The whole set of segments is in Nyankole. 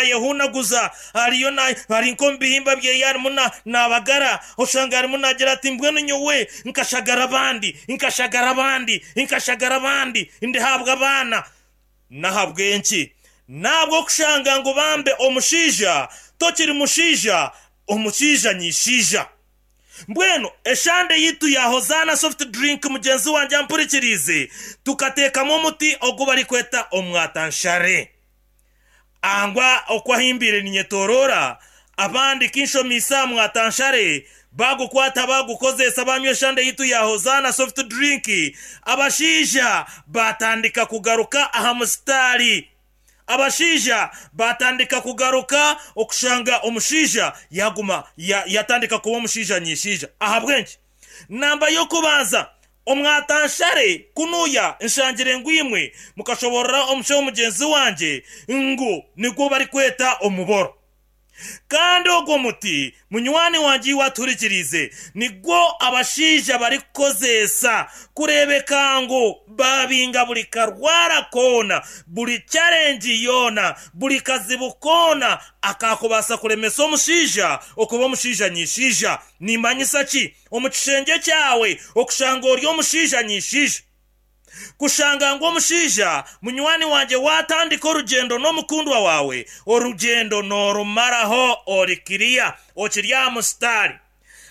naayehuunaguza, ariyo na, ari nk'omu bihimba byeye arimu na, naabagara, oshanga arimu naagira ati, Mbwenu nyowe nkashagara abandi, nkashagara abandi, nkashagara abandi, ndihaabwa abaana. N'ahabw'enki? N'ahabw'okushanga ngu bambe omushaija tokiri mushaija, omushaija nyishaija. Mbwenu eshande yaitu ya Hozaana Soft Drink mugyenzi wangye ampurikiriize, tukateekamu omuti ogu barikweta omwatanshare. Angwa oku ahimbiire ninyetoroora, abandi kinshomiise aha mwatanshare, baagukwata baagukozeesa baanywa eshande yaitu ya Hozaana Soft Drink, abashaija baatandika kugaruka aha musitaari. Abashaija baatandika kugaruka okushanga omushaija yaaguma yatandika kuba omushaija nyishaija. Ahabw'enki? Namba y'okubanza, omwatanshare kunuya nshangire ngu imwe mukashoboorora omushaho mugyenzi wangye ngu nigwo barikweta omuboro. Kandi ogwo muti, munywani wangye iwe atuhurikiriize, nigwo abashaija barikukozeesa kureebeka ngu baabinga buri karwara koona, buri challenge yoona, buri kazibu koona akaakubaasa kuremesa omushaija okuba omushaija nyishaija. Nimanyisa ki? Omu kishengye kyawe okushanga ori omushaija nyishaija. Kushanga ngu omushaija munywani wangye waatandika orugyendo n'omukundwa waawe, orugyendo noorumaraho ori kiriya, okiri aha musitaari.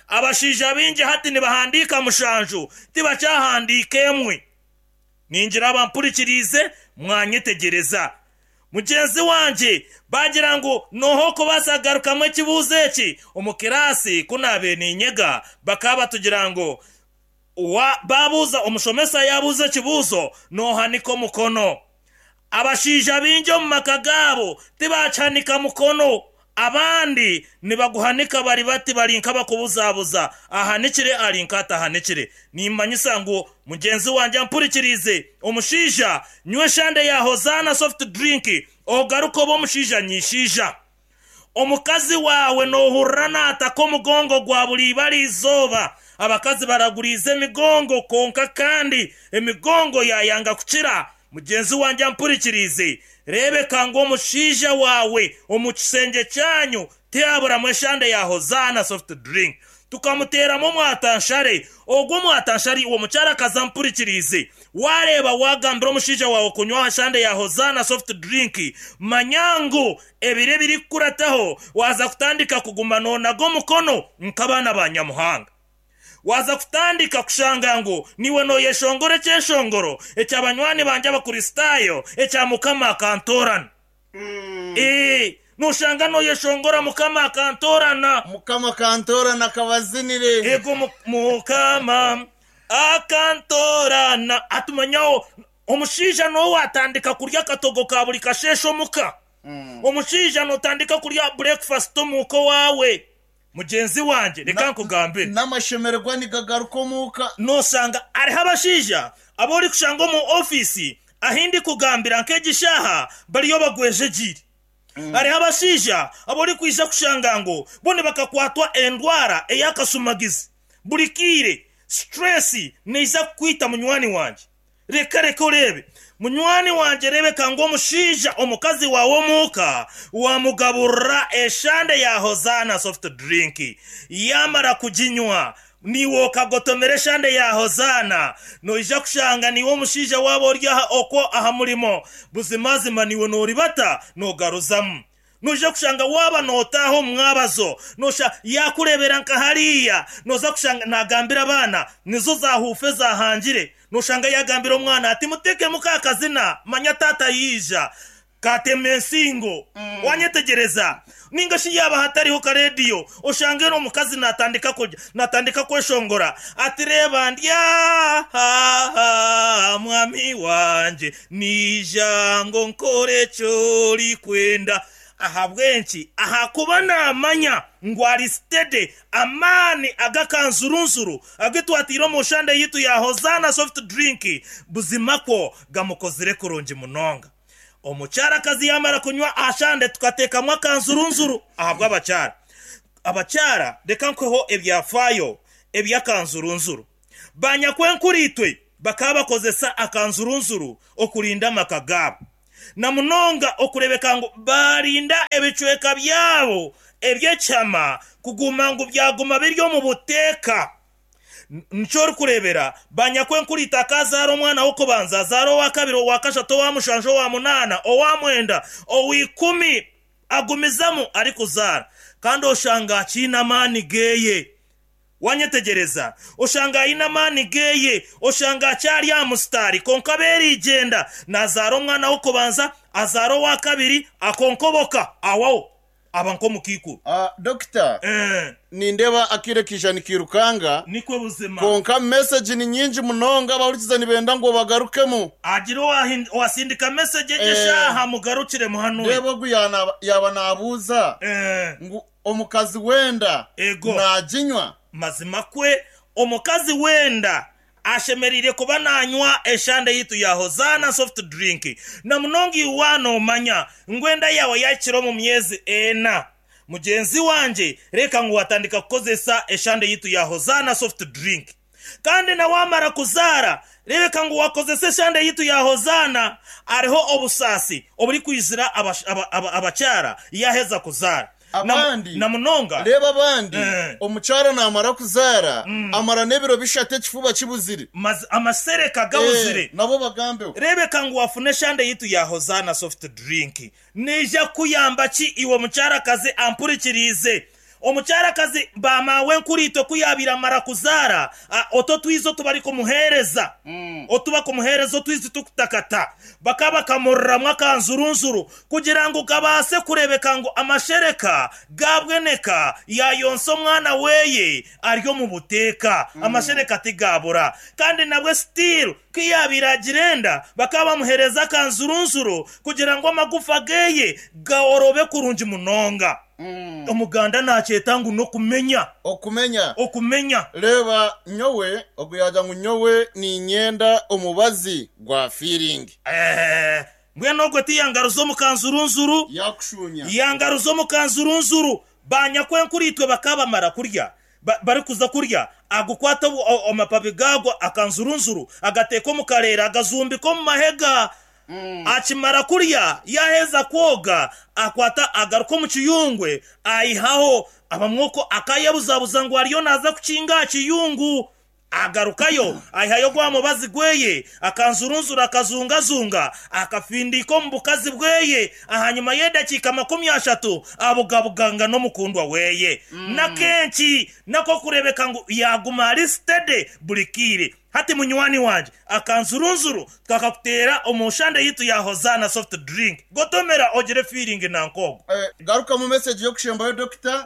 Abashaija baingi hati nibahandiika mushanju, tibakyahandiika emwe. Ningira abampurikiriize mwanyetegyereza. Mugyenzi wangye baagira ngu nooha okubaasa kugarukamu ekibuuzo eki? Omu kiraasi ku naabaire niinyega, bakaba batugira ngu Wa, baabuuza, omushomesa yaabuuza ekibuuzo, noohanika omukono. Abashaija baingi omu maka gaabo tibaakihanika mukono. Abandi nibaguhanika bari bati bari nk'abakubuzabuza, ahanikire ari nk'atahanikire. Nimmanyisa ngu mugyenzi wangye ampurikiriize, omushaija, nywa eshande ya Hozaana soft drink ogaruke obe omushaija nyishaija. Omukazi waawe noohurira naataka omugongo gwa buri ibara izooba. Abakazi baraguriize emigongo kwonka kandi emigongo yaayanga kukira. Mugyenzi wangye ampurikiriize, reebeka ngu omushaija waawe omu kishengye kyanyu tihaburamu eshande ya Hozaana soft drink. Tukamuteeramu omwatanshare. Ogwo omwatanshare iwe omukyarakazi ampurikiriize, waareeba waagambira omushaija waawe kunywa aha shande ya Hozaana soft drink, manya ngu Ebiro ebirikukurataho waaza kutandika kuguma noonaga omukono nk'abaana ba Nyamuhanga. Waaza kutandika kushanga ngu niiwe nooyeshongora ekyeshongoro ekya banywani bangye Abakristaayo ekya Mukama akantoorana. Ee, nooshanga nooyeshongora Mukama akantoorana. Mukama akantoorana akabazinire. Eego, Mukama akantoorana. Hati manyaho Omushaija n'ou atandika kurya akatogo ka buri kasheeshe omuka. Omushaija n'otandika kurya burekufasiti omuuka owaawe. Mugyenzi wangye, reka nkugambire. N'amashemererwa nigagaruka omuuka. Noshanga hariho abashaija abu orikushanga omu ofiisi ahu ndikugambira nk'egi shaaha bariyo bagwejegyeire. Hariho abashaija abu orikwija kushanga ngu bo nibakakwatwa endwara ey'akashumagizi. Buri kaire stress neija kukwita munywani wangye. Reka reka oreebe. Munywani wangye reebeka ngu omushaija omukazi waawe omuuka wamugaburira eshande ya Hozaana soft drink yamara kuginywa naiwe okagotomera eshande ya Hozaana noija kushanga naiwe omushaija waaba ori aha okwo aha murimo buzimazima naiwe noribata nogaruzamu. Noija kushanga waaba nootaaha omu mwabazo, nosha yaakureebera nka hariya, nooza kushanga naagambira abaana, nizo zaahuufa ezaahangire. Noshanga yaagambira omwana ati, Muteekemu ka kazina, manya taata yaija. Kaatema ensingo. Waanyetegyereza? Nainga shi yaaba hatariho kareediyo, oshange omukazi naatandika kurya, naatandika kweshongora ati, Reeba ndi aha, mwami wangye. Naija ngu nkore eki orikwenda. Ahabw'enki? Ahakuba naamanya ngu ari steady. Amaani ag'akanzurunzuru agu twataire omu nshande yaitu ya Hosanna Soft Drink buzima kwo gamukozire kurungi munonga. Omukyarakazi yaamara kunywa aha shande tukateekamu akanzurunzuru ahabw'abakyara. Abakyara reka nkuheho ebyafaayo eby'akanzurunzuru. Banyakwenkuriitwe bakaba bakozesa akanzurunzuru okurinda amaka gaabo. Na munonga okureebeka ngu baarinda ebicweka byabo eby'ekihama kuguma ngu byaguma biri omu buteeka. Nikyo orikureebera banyakwenkuru itaka azaara omwana w'okubanza, azaara owa kabiri, owa kashatu, owa mushanju, owa munaana, owa mwenda, owa ikumi, agumizamu arikuzaara. Kandi oshanga akiine amaani ge. Wanyetegyereza? Oshanga aine amaani ge, oshanga akyari aha musitaari, kwonka beerigyenda, naazaara omwana w'okubanza, azaara owa kabiri, akonkoboka, awaho, aba nk'omukaikuru. Dokita, nindeeba akaire kaija nikairukanga, Nikwo buzima. kwonka mesegi ni nyingi munonga, abahurikiza nibenda ngu obagarukemu. Hagire owasindika mesegi egi eshaaha, mugarukiremu hanu. Reeba ogu yaaba naabuuza ngu Omukazi w'enda Ego. naaginywa? Mazima kwe, omukazi w'enda ashemereire kuba naanywa eshande yaitu ya Hozaana Soft Drink. Na munonga iwe waaba noomanya ngu enda yaawe yaahikire omu myezi ena. Mugyenzi wangye, reeka ngu waatandika kukozesa eshande yaitu ya Hozaana Soft Drink. Kandi na waamara kuzaara, reebeka ngu waakozesa eshande yaitu ya Hozaana. Hariho obusaasi oburikwizira abakyara yaaheza kuzaara. Abandi, Na munonga. Reeba abandi, omukyara naamara kuzaara, amara n'ebiro bishatu ekifuba kibuzire. Amasereka gabuzire. Nabo bagambeho. Reebeka ngu waafuna eshande yaitu ya Hozaana Soft Drink. Neija kukuyamba ki iwe omukyarakazi ampurikiriize? Omukyarakazi ba maawenkuriitwe ku yaabaire amara kuzaara, otu otwizi otu barikumuheereza, otu bakumuheereza otwizi tukutakata, bakaba bakamuriramu akanzurunzuru kugira ngu kabaase kureebeka ngu amashereka gaabweneka yaayonsa omwana we ari omu buteeka. Amashereka tigaabura. Kandi nabwe still ku yaabaire agira enda, bakaba bamuheereza akanzurunzuru kugira ngu amagufa ge gaorobe kurungi munonga. Omuganda naakyeta ngu n'okumenya. Okumenya. Okumenya. Reeba nyowe, ogu yaagira ngu nyowe niinyenda omubazi gwa fiiringi. Eeh, mbwenu ogwo tiyangaruza omu kanzurunzuru? Yaakushuunya. Yangaruza omu kanzurunzuru. Banyakwenkuriitwe bakaba bamara kurya, barikuza kurya, agukwata amapabi gaago akanzurunzuru, agateeka omu kareera, agazumbika omu mahega. Akimara kurya, yaaheza kwoga, akwata agaruka omu kiyungwe, aihaho abamwe okwo akaayebuzabuza ngu ariyo naaza kukinga aha kiyungu. Agarukayo, aihayo gwa mubazi gweye, akanzurunzura akazungazunga, akafindiika omu bukazi bweye. Ahanyima y'edakiika 30, abugabuganga n'omukundwa weye. N'akenki n'ak'okureebeka ngu yaaguma ari steady buri kaire. Hati munywani wangye, akanzurunzuru twakakuteera omu nshande yaitu ya Hozaana Soft Drink. Gotomera ogire feeling nanka ogwo. Garukamu message y'okushembayo Dokita.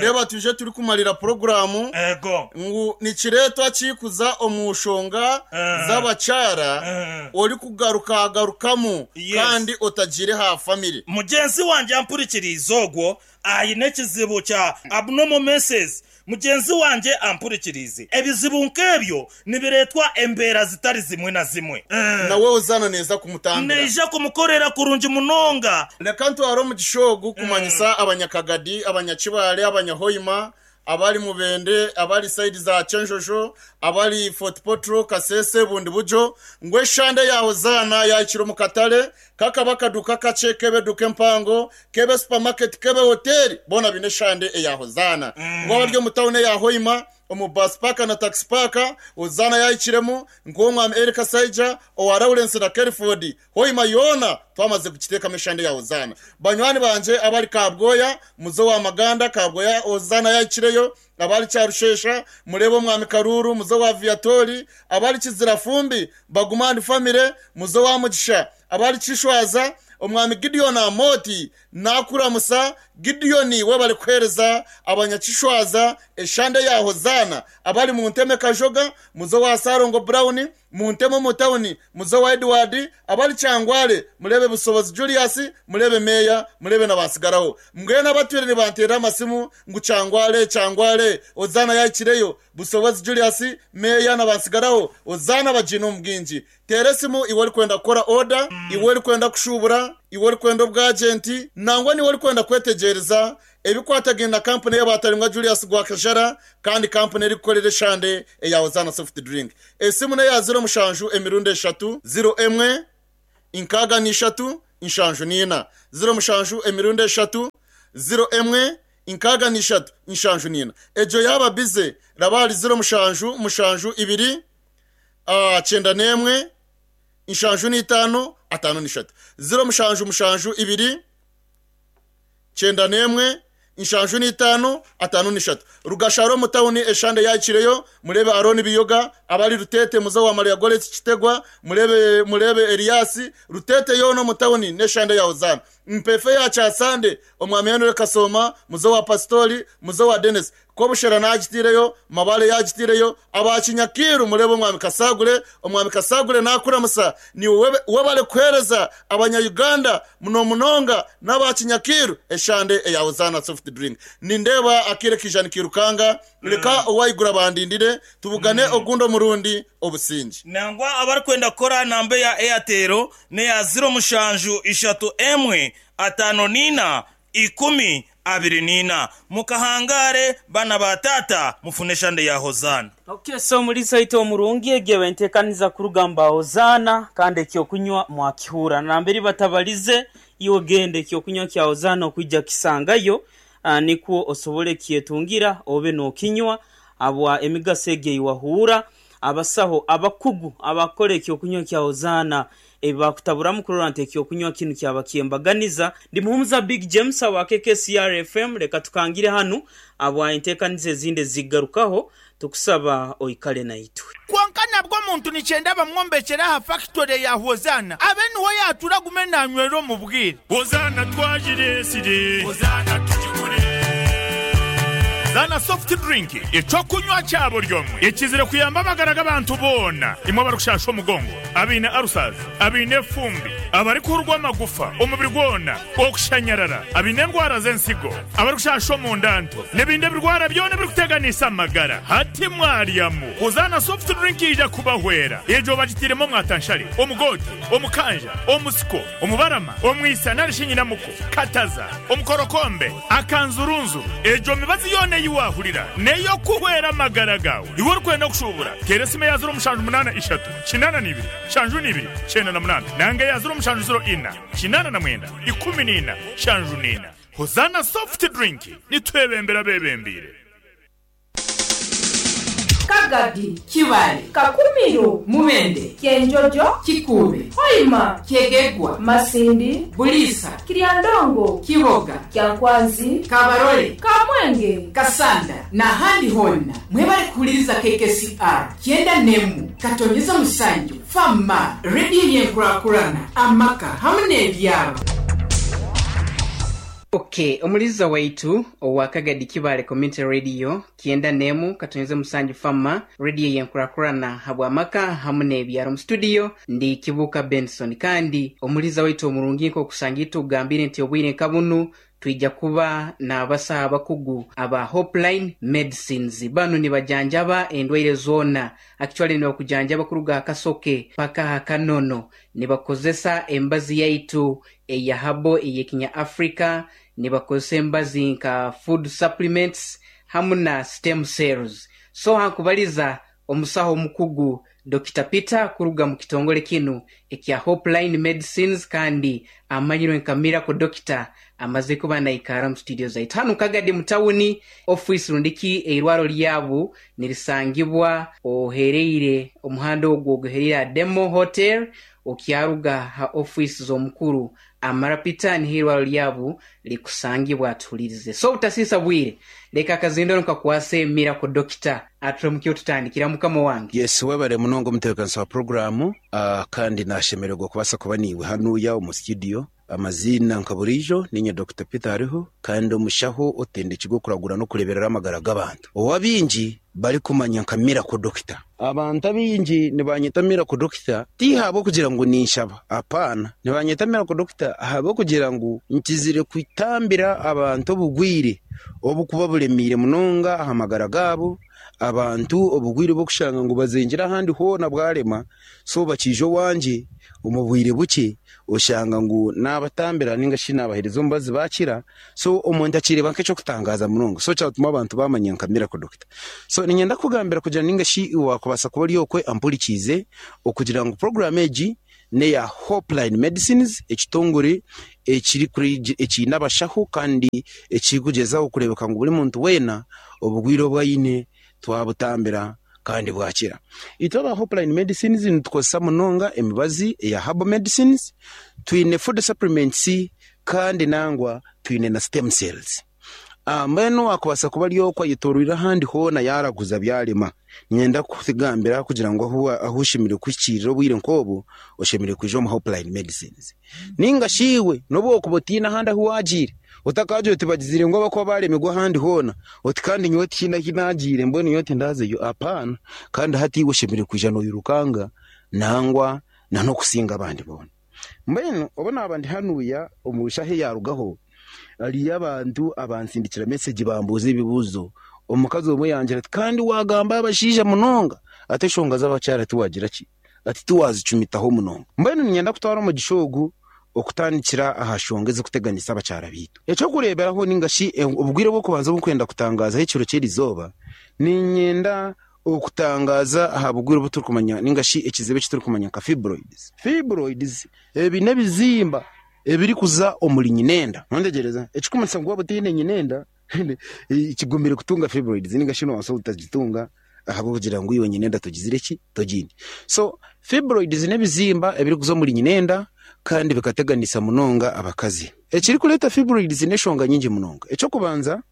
Reeba twije turikumarira puroguraamu Ego. ngu nikireetwa ki kuza omu nshonga z'abakyara orikugarukagarukamu kandi otagiire ha famire. Mugyenzi wangye ampurikiriize ogwo aine ekizibu kya abnormal menses. Mugyenzi wangye ampurikiriize. Ebizibu nk'ebyo nibireetwa embeera zitari zimwe na zimwe. Nawe Hozaana neeza kumutambira. Neija kumukorera kurungi munonga. Reka ntware omugisha ogu kumanyisa Abanyakagadi, Abanyakibaale, Abanyahoima, abari Mubende, abari sayidi za Kyenjojo, abari Fort Portal, Kasese, Bundibugyo, ngu eshande ya Hozaana yaahikire omu katare, Kakaba akaduuka kakye, k'ebe eduuka empango, k'ebe supamaketi, k'ebe hoteeri, boona baine eshande eya Hozaana. Ngu abari omu tauni eya Hoima, omu baasi paaka na takisi paaka, Hozaana yaahikiremu, nk'ow'omwami Eli Kasaija, owa Lawrence na Kelford. Hoima yoona twamaze kugiteekamu eshande ya Hozaana. Banywani bangye abari Kabwoya, muze owa Maganda, Kabwoya Hozaana yaahikireyo. Abari Kyarushesha, mureebe Omwami Karuuru, muze owa Viatori, abari Kizirafumbi, Bagumani Family, muze owa Mugisha, abari Kishwaza, Omwami Gideon Amooti nakuramusa, Gideon webare kuhereza abanyakishwaza eshande ya Hozaana, abari Munteme Kajoga, muze owa Salongo Brown, Munteme omu tawuni, muze owa Edward, abari Kyangwale, mureebe Busobozi Julius, mureebe Meeya, mureebe na Batsigaraho. Mbwenu abatwire nibanteerera amasimu ngu Kyangwale, Kyangwale, Hozaana yaahikireyo, Busobozi Julius, Meeya na Batsigaraho, Hozaana bagiine omu bwingi. Teera esimu iwe orikwenda kukora oda, iwe orikwenda kushuubura, iwe orikwenda obwajenti, nangwa n'iwe orikwenda kwetegyereza Ebikwatagaine na kampuni ey'abaatarimwa Julius Gwakajara kandi kampuni erikukorera eshande eya Hosanna Soft Drink. Esimu n'eya ziro mushanju emirundi eshatu, ziro emwe, nkaaga na ishatu, 74. 07 emirundi eshatu, 0 emwe, 63, 74. Egyo yaaba bize, raba ahari 07 7 2, 91, 75, 53. 07 7 2, 91, 75, 53. Rugashara omu tawuni eshande yahikireyo, mureebe Arooni Biyoga, abari Ruteete muze owa Maria Goreti Kitegwa, mureebe mureebe Elias, Ruteete yoona omu tawuni n'eshande ya Hozaana. Mpeefe ya Kyasande, Omwami Henry Kasooma, muze owa Pasitori, muze owa Denis. Kobushera naagitiireyo, Mabale yaagitiireyo, aba Kinyakiiru mureebe Omwami Kasagure, Omwami Kasagure naakuramusa, niiwe webare kuheereza abanya Uganda munomunonga n'aba Kinyakiiru eshande eya Hosanna Soft Drink. Nindeeba akaire kaija nikairukanga, reka owaiguru abandindire tubugane ogundi omurundi. Obusingye. Nangwa abarikwenda kukora aha namba eya Airtel n'eya ziro mushanju ishatu emwe ataano n'ina ikumi abiri n'ina. Mukahangaare baana ba taata mufune eshande ya Hozaana. Ok so omuriisa waitu omurungi egyo eba entekaniza kuruga mu ba Hozaana kandi ekyokunywa mwakihuura namberi batabalize iwe genda ekyokunywa kya Hozaana okwija kisangayo nikwo osobole kyetungira obe nokinywa habwa emigaso egyo eyiwahuura. Abasaho abakugu abakukora ekyokunywa kya Hozaana ebi baakutaburamu kurora nti ekyokunywa kinu kyaba kyembaganiza. Ndi Muhumuza Big James awa KKCR FM, leka tukangire hanu habwa enteekaniza ezindi ezigarukaho, tukusaba oikale naitwe. Kwonka nabwo omuntu nikyenda bamwombekyere aha fakitore ya Hozaana abe niho yaatuura agume naanywera omu bwire. Hozaana twagireetsire. Hozaana tugigure. Zaana Soft Drink, eky'okunywa kya buri omwe ekizire kuyamba amagara g'abantu boona, imwe abarikushasha omugongo, abaine ulcers, abaine efumbi, abarikuhurwa amagufa omubiri gwona, okushanyarara, abaine endwara z'ensigo, abarikushasha omunda nto, n'ebindi ebirwara byona ebirikuteganisa amagara. Hati mwaryamu, Hozaana Soft Drink yaija kubahwera. Egyo bagitairemu omwatanshare, omugoote, omukanja, omusiko, omubarama, omwisa nari shi nyinamuko, kataza, omukorokombe, akanzurunzuru. Egyo mibazi yoona ei waahurira n'ey'okuhwera amagara gaawe. Iwe orikwenda kushuubura, teera esimu eya ziro mushanju munaana ishatu, kinaana na ibiri, nshanju na ibiri, kyenda na munaana nanga eya ziro mushanju ziro ina, kinaana na mwenda, ikumi na ina, nshanju na ina. Hozaana Soft Drink, nitwebembera abeebembeire. Kagadi, Kibaale, Kakumiro, Mubende, Kyenjojo, Kikuube, Hoima, Kyegegwa, Masindi, Buliisa, Kiryandongo, Kiboga, Kyankwanzi, Kabarole, Kamwenge, Kasanda n'ahandi hoona. Mwebale kuhuliriza KKCR kyenda n'emu katonyeza musanju fama rediyo y'enkurakurana amaka hamu n'ebyaro. Ok, omuliza waitu owa Kagadi Kibaale Community Radio kyenda n'emu katonyeza musanju fama rediyo y'enkurakurana habw'amaka hamu n'ebyaro. Mu studio ndi Kibuuka Benson kandi omuliza waitu omurungi nk'okusanga itwe okugambire nti obwire nka bunu twija kuba n'abasaho abakugu aba Hopeline Medicines. Banu nibajanjaba endwaire zoona. Actually nibakujanjaba kuruga aha kasoke paka aha kanono. Nibakozesa embazi yaitu eya habo ey'ekinya Africa, nibakozesa embazi nka food supplements hamu na stem cells. So hankubaliza omusaho omukugu Dokita Peter kuruga mu kitongole kinu ekya Hopeline Medicines kandi amanyirwe nka Miracle Doctor amaze kuba naikara mu studio zaitu hanu Kagadi mu tawuni office rundiki eirwaro lyabu nirisangibwa ohereire omuhanda ogwo oguhereire aha Demo Hotel okyaruga ha office z'omukuru Amara Peter niho eirwaro lyabu likusangibwa atuhulirize. So obutasisa bwire leka akazindaro nkakwase Miracle Doctor aturamuke otutandikira mukama wange. Yes webare munonga omutebekanisa wa puroguramu kandi nashemererwa kubaasa kuba naiwe hanuya omu studio. Amaziina nka buriijo niinye Dokita Peter Hariho kandi omushaho otendekirwe okuragura n'okureeberera amagara g'abantu ou abaingi barikumanya nka Miracle Doctor. Abantu abaingi nibanyeta Miracle Doctor ti ahabw'okugira ngu ninshaba, apaana. Nibanyeta Miracle Doctor ahabw'okugira ngu nkizire kutambira abantu obugwire obukuba buremiire munonga aha magara gaabo, abantu obugwire obw'okushanga ngu bazengire ahandi hoona bwarema, so bakiija owangye omu bwire bukye oshanga ngu naabatambira ninga shi naabaheereza omubazi baakira, so omuntu akireeba nk'eky'okutangaaza munonga, so kyatuma abantu baamanya nka Miracle Doctor. So niinyenda kukugambira kugira ninga shi waakubaasa kuba ori okwe ampurikiize okugira ngu puroguraamu egi n'eya Hopeline Medicines, ekitongore ekiine abashaho kandi ekirikugyezaho kureebeka ngu buri muntu weena obugwire obu aine twabutambira kandi bwakira. Itwe aba Hopeline Medicines nitukozesa munonga emibazi eya herbal medicines, twine food supplements kandi nangwa twine na stem cells. Mbwenu owaakubaasa kuba ari okwo ayetooroire ahandi hoona yaaraguza byarema, niinyenda kukugambira kugira ngu ahu oshemereire kuhikiirira obwire nk'obwo, oshemereire kwija omu Hopeline Medicines. Nainga shi iwe n'obu orikuba otaine ahandi ahu waagiire, otakaagira oti bagizire ngu abakuba baaremirwe ahandi hoona, oti kandi nyowe tihaine ahu naagiire mbwenu nyowe tindazeyo. Apaana! Kandi hati iwe oshemereire kwija noirukanga nangwa n'okusinga abandi boona. Mbwenu obu naaba ndi hanuya omu shaaha eyaarugaho, hariyo abantu abansindikira mesegi bambuuza ebibuuzo. Omukazi omwe yangira ati, Kandi waagamba abashaija munonga, ati enshonga z'abakyara tiwaagira ki? Ati tiwaazicumitaho munonga. Mbwenu niinyenda kutwara omugisha ogu okutandikira aha nshonga ezirikuteganisa abakyara baitu. Eky'okureeberaho nainga shi obwire bw'okubanza obu ndikwenda kutangaazaho ekiro ky'erizooba, niinyenda Okutangaaza aha bugwire obu turikumanya ninga shi ekizibu eki turikumanya nka fibroids. Fibroids ebi n'ebizimba ebirikuza omuri nyinenda. Nontegereza? Ekirikumanyisa ngu waaba otaine nyinenda kigumire kutunga fibroids ninga shi nobaasa obutagitunga ahabw'okugira ngu iwe nyinenda togizire ki? Togiine. So fibroids n'ebizimba ebirikuza omuri nyinenda kandi bikateganisa munonga abakazi. Ekirikureeta fibroids n'eshonga nyingi munonga. Eky'okubanza,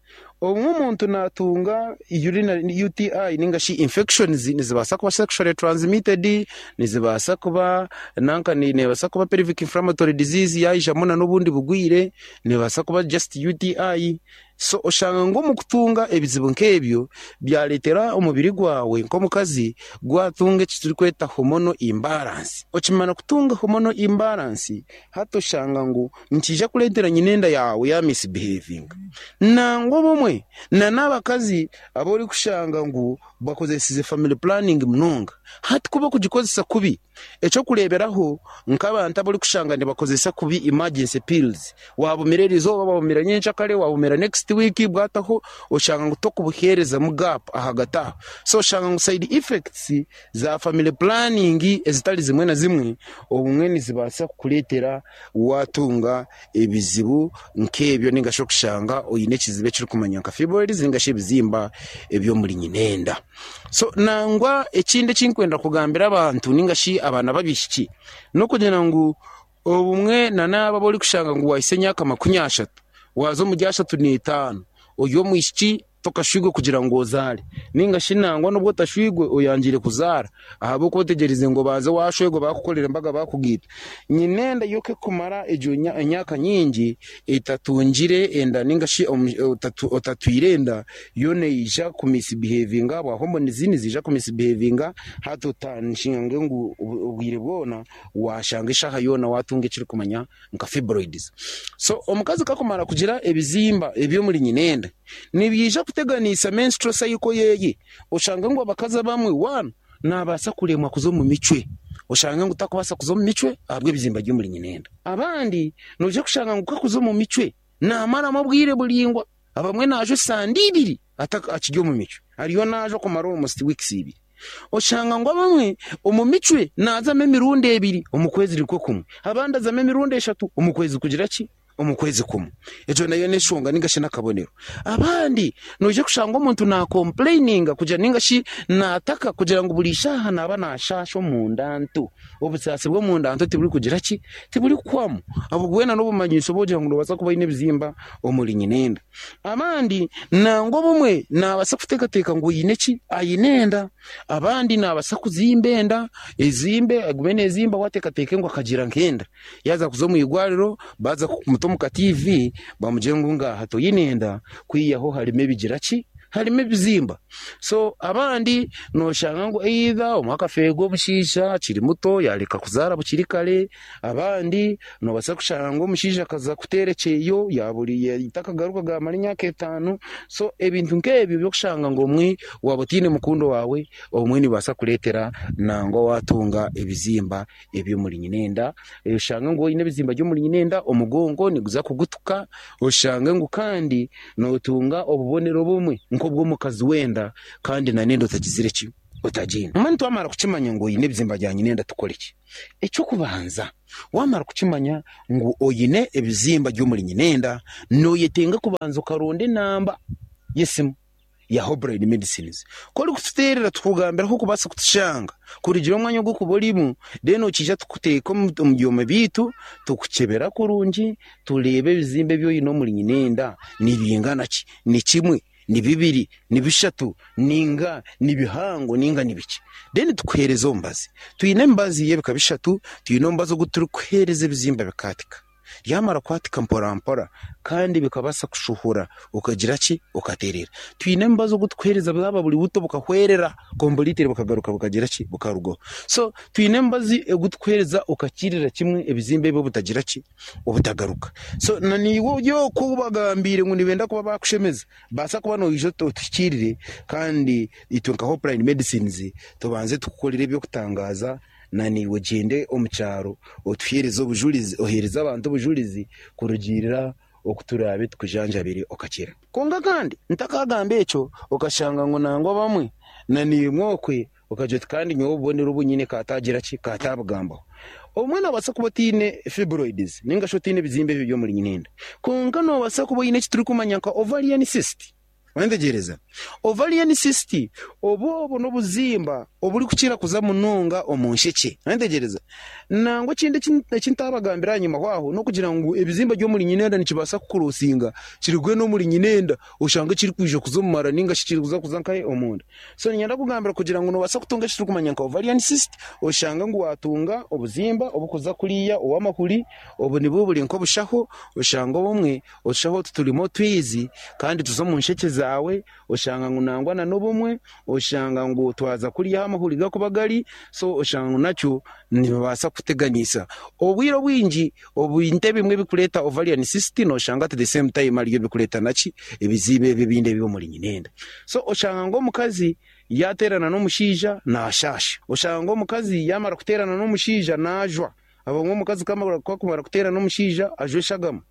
Obumwe omuntu natunga urinary UTI ninga shi infections nizibaasa kuba sexually transmitted, nizibaasa kuba nanka nebaasa kuba pelvic inflammatory disease yaijamu na n'obundi bugwire, nebaasa kuba just UTI. So oshanga ngu omu kutunga ebizibu nk'ebyo byareetera omubiri gwawe nk'omukazi gwatunga eki turikweta hormonal imbalance. Okimara kutunga hormonal imbalance, hati oshanga ngu nikiija kureetera nyina enda yaawe ya misbehavinga. Nangwa obumwe na n'abakazi abu orikushanga ngu bakozesize family planning munonga, hati ku barikugikozesa kubi. Eky'okureeberaho nk'abantu abu orikushanga nibakozesa kubi emergency pills, waabumira erizooba, waabumira nyenkyakare, waabumira next week bwataho, oshanga ngu tokubuheerezamu gap ahagati aho. So oshanga ngu side effects za family planning ezitari zimwe na zimwe obumwe nizibaasa kukureetera waatunga ebizibu nk'ebyo ninga shi okushanga oine ekizibu ekirikumanywa nka fibroids ninga shi ebizimba eby'omuri nyinenda. So nangwa ekindi eki ndikwenda kugambira abantu ninga shi abaana b'abaishiki n'okugira ngu obumwe na n'abo abu orikushanga ngu waahitsya emyaka 30 waaza omuri 35 ori omwishiki Tokashwirwe kugira ngu ozaare, nainga shi nangwa n'obu otashwirwe oyangire kuzaara ahabw'okuba otegyereize ngu obanze waashwerwa baakukorera embaga baakugaita. Nyina enda yo ku ekumara egyo emyaka nyingi etatungire enda nainga shi otatwire enda, yo neija ku misbihevinga ahabwa hormones niziija ku misbihevinga hati otashange ngu obwire bwona waashanga eshaaha yoona waatunga ekirikumanywa nka fibroids. So omukazi ku akumara kugira ebizimba eby'omuri nyina enda, nibiija kuteganisa menstrual cycle yeye, oshange ngu abakazi abamwe one nabaasa kuremwa kuza omu micwe, oshange ngu takubaasa kuza omu micwe ahabw'ebizimba by'omuri nyina enda. Abandi noija kushanga ngu ku akuza omu micwe namaramu obwire buraingwa, abamwe naajwa esande ibiri akiri omu micwe, ariyo naajwa kumara almost weeks ibiri. Oshanga ngu abamwe omu micwe naazamu emirundi ebiri omu kwezi nikwo kumwe, abandi azamu emirundi eshatu omu kwezi kugira ki? Omu kwezi kumwe. Egyo nayo n'enshonga ninga shi n'akabonero. Abandi noija kushanga omuntu naakompureyininga kugira ninga shi naataka kugira ngu buri shaaha naaba naashaasha omunda nto. Obusaasi bw'omunda nto tiburikugira ki? Tiburikuhwamu. Obwo bwena n'obumanyiso obu ogira ngu noobaasa kuba oine ebizimba omuri nyinenda. Abandi nangwa obumwe naabaasa kuteekateeka ngu oine ki? Aine enda. Abandi naabaasa kuzimba enda, ezimbe, egume neezimba we ateekateeke ngu akagira nk'enda. Yaaza kuza omu irwariro, baaza kumuta omu ka TV, bamugire ngu ngaaha toine enda, kwihaho harimu ebigira ki? Harimu ebizimba. So abandi nooshanga ngu either omwe akafeerwa omushaija akiri muto yaareka kuzaara bukiri kare, Abandi noobaasa kushanga ngu omushaija akaza kuteera ekyeyo yaabura takagaruka gaamara emyaka etaano. So ebintu nk'ebyo by'okushanga ngu obumwe waaba otaine mukundwa waawe, obumwe nibibaasa kureetera nangwa waatunga ebizimba eby'omuri nyinenda. Oshange ngu oine ebizimba by'omuri nyinenda, omugongo niguza kugutuka, oshange ngu kandi nootunga obubonero obumwe nk'obw'omukazi w'enda kandi n'enda otagizire ki? Otagiine. Mbwenu twamara kukimanya ngu oine ebizimba bya nyinenda tukore ki? Eky'okubanza, waamara kukimanya ngu oine ebizimba by'omuri nyinenda, nooyetenga kubanza okaronda enamba y'esimu ya Hopeline Medicines. Ku orikututeerera tukugambira ahu orikubaasa kutushanga, kurugiirira omwanya ogu orikuba orimu, then okiija tukuteeka omu byoma byaitu, tukukyebera kurungi, tureebe ebizimba ebi oine omuri nyinenda nibingana ki, ni kimwe, ni bibiri, ni bishatu, ninga ni bihango ninga ni bikye. Then tukuheereza omubazi. Twine emibazi y'ebika bishatu, twine omubazi ogu turikuheereza ebizimba bikaatika. Byamara kwatika mpora mpora kandi bikabaasa kushuhura okagira ki? Okateerera. Twine omubazi ogu turikuheereza bwaba buri buto bukahwerera completely bukagaruka bukagira ki? Bukarugaho. So twine omubazi ogu turikuheereza okakirira kimwe ebizimba ebi obutagira ki? Obutagaruka. So na naiwe ori okwo ou bagambiire ngu nibenda kuba baakushemeza, baasa kuba noija otuhikiirire kandi itwe nka Hopeline Medicines tubanze tukukorere eby'okutangaaza. Na naiwe ogyende omu kyaro otuheereze obujurizi, oheereze abantu obujurizi kurugiirira oku turaabe tukujanjabire okakira. Kwonka kandi ntakagamba ekyo, okashanga ngu nangwa abamwe na naimwe okwe okagira oti kandi nyowe obubonero obu nyine kaataagira ki, kaataabugambaho. Obumwe noobaasa kuba otaine fibroids nainga shi otaine ebizimba ebyo by'omuri nyinenda, kwonka noobaasa kuba oine eki turikumanya nka ovarian cyst. Wentegyereza? Ovarian cyst obu obwo n'obuzimba oburikukira kuza munonga omu nshekye. Wentegyereza? Nangwa ekindi eki ntaabagambira ahanyima aho n'okugira ngu ebizimba by'omuri nyinenda nikibaasa kukurosinga kirugwe n'omuri nyinenda oshange kirikwija kuza omu mara ninga shi kirikuza kuza nkahe omunda. So niinyenda kugambira kugira ngu noobaasa kutunga eki turikumanya nka ovarian cyst oshange ngu waatunga obuzimba oburikuza kuriya ow'amahuri, obu nibwo buri nk'obushaho oshange obumwe Otushaho otu turimu otwizi kandi tuza omu nshekye zaawe, oshanga ngu nangwa na n'obumwe oshanga ngu twaza kuriya ahu amahuri garikuba gari, so oshanga ngu nakyo nibibaasa kukuteganisa. Obwire obwingi ebintu ebimwe ebirikureeta ovarian cyst noshanga at the same time aribyo birikureeta naki ebizibu ebi ebindi eby'omuri nyinenda. So oshanga ngu omukazi yaateerana n'omushaija naashaasha, oshanga ngu omukazi yaamara kuteerana n'omushaija naajwa. Abamwe omukazi ku akumara kuteerana omushaija ajwa eshagama.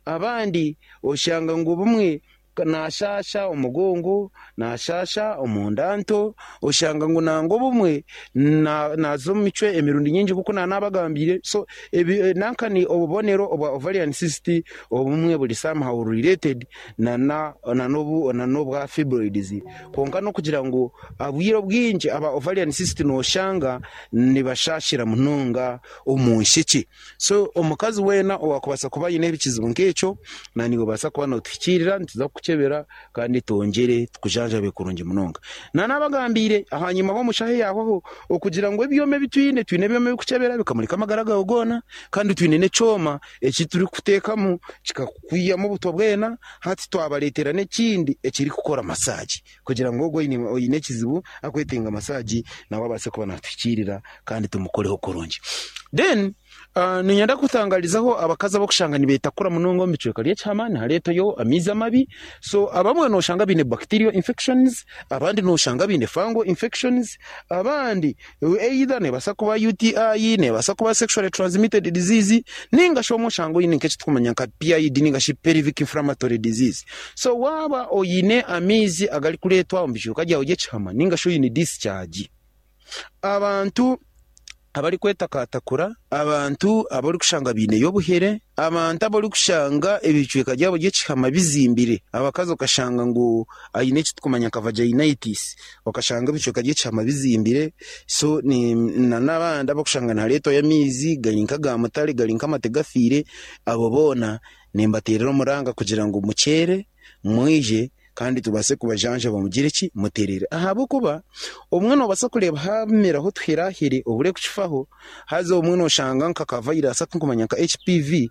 Abandi oshanga ngu obumwe naashaasha omugongo, naashaasha omunda nto, oshanga ngu nangwa obumwe naaza omu micwe emirundi mingi nk'oku naanabagambiire. So nanka ni obubonero obwa ovarian cyst obumwe buri somehow related n'obwa fibroids. Kwonka n'okugira ngu obwire obwingi aba ovarian cyst noshanga nibashaashira munonga omu nshekye. So omukazi weena owaakubaasa kuba aine ekizibu nk'ekyo, naiwe obaasa kuba nootuhikiirira, nituza kukukyebera kandi twongyere tukujanjabe kurungi munonga. Naanabagambiire ahanyima h'omushaho yaahwaho okugira ngu ebyoma ebi twine, twine ebyoma ebirikukyebera bikamurika amagara gaawe goona kandi twine n'ekyoma eki turikuteekamu kikakwihamu obutwa bwena. Hati twabareetera n'ekindi ekirikukora masaagi kugira ngu ogwo oine ekizibu arikwetenga masaagi nawe abaase kuba naatuhikiirira kandi tumukoreho kurungi. Then niinyenda kutangarizaho abakazi abarikushanga nibeetakura munonga omu bicweka by'ekihama nihareetayo amaizi amabi. So abamwe nooshanga baine bacterial infections, abandi nooshanga baine fungal infections, abandi Either neebaasa kuba UTI, neebaasa kuba sexually transmitted disease, nainga shi obumwe oshange oine nk'eki turikumanya nka PID nainga shi pelvic inflammatory disease. So waaba oine amaizi agarikureetwa omu bicweka byawe by'ekihama nainga shi oine discharge, abantu abarikwetakaatakura, abantu abu orikushanga baineyo obuhere, Abantu abu orikushanga ebicweka byabo by'ekihama bizimbire, abakazi okashanga ngu aine eki turikumanya nka vaginitis, okashanga ebicweka by'ekihama bizimbire, so n'abandi abarikushanga nihareetwayo amaizi gari nk'aga mutare gari nk'amate gafiire, abo boona nimbateerera omuranga kugira ngu mukyere mwije kandi tubaase kubajanjaba mugire ki? Mutereere. Ahabw'okuba obumwe noobaasa kureeba haameraho otuherahere obure kukifaho, haza obumwe nooshanga nka ka vayirasi aku ndikumanya nka HPV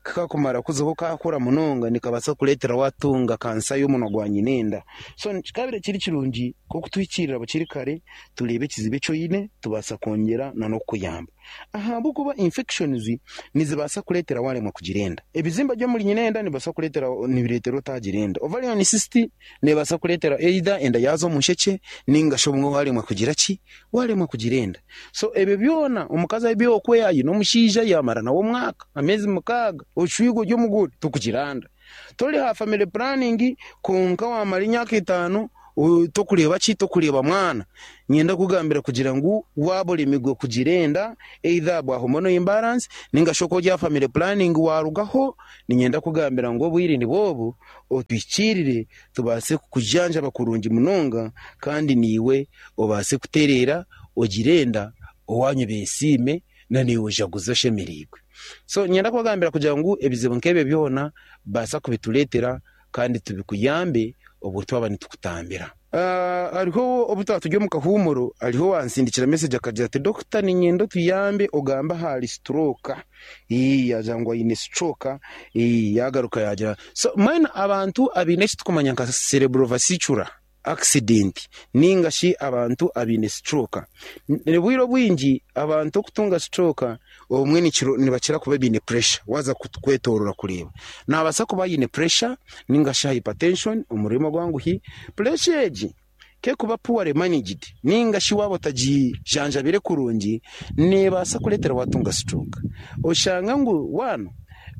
kikakumara kuzaho kaakura munonga nikabaasa kukureetera waatunga kansa y'omunwa gwa nyinenda. So kikabaire kiri kirungi nk'okutuhikiirira bukiri kare tureebe ekizibu eki oine tubaasa kwongyera n'okukuyamba. Ahabw'okuba infections nizibaasa kureetera waaremwa kugira enda. Ebizimba by'omuri nyina enda nibibaasa kureetera nibireetera otaagira enda. Ovarian cyst neebaasa kureetera either enda yaaza omu nshekye nainga shi obumwe waaremwa kugira ki? Waaremwa kugira enda. So ebyo byona omukazi abe okwe aine omushaija yaamara nawe omwaka, ameezi mukaaga, oshwiga ori omugore, tokugira nda. Tori aha family planning kwonka waamara emyaka etaano. Tokureeba ki? Tokureeba mwana. Niinyenda kukugambira kugira ngu waaba oremirwe kugira enda, either ahabwa hormonal imbalance ninga shi oku ori aha family planning waarugaho, niinyenda kukugambira ngu obwire nibwo obu, otuhikiirire tubaase kukujanjaba kurungi munonga kandi naiwe obaase kutereera ogire enda, owaanyu beesiime na naiwe ojaguze oshemereirwe. So niinyenda kubagambira kugira ngu ebizibu nk'ebyo byona baasa kubitureetera kandi tubikuyambe obwo twaba nitukutambira. Hariho obu twaba turi omu kahuumuro, hariho owaansindikira mesegi akagira ati, Dokita niinyenda otuyambe ogambe ahari sitoroka. Yaagira ngu aine sitoroka, yaagaruka yaagira. So mbwenu abantu abaine eki turikumanya nka cerebrovascular accident ninga shi abantu abaine stroke. Obwire obwingi abantu okutunga stroke obumwe nibakira kuba baine pressure waaza kwetoorora kureeba. Naabaasa kuba aine pressure ninga shi hypertension omu rurimi orwanguhi. Pressure egi ku erikuba poorly managed ninga shi waaba otagijanjabire kurungi, neebaasa kureetera waatunga stroke. Oshanga ngu one,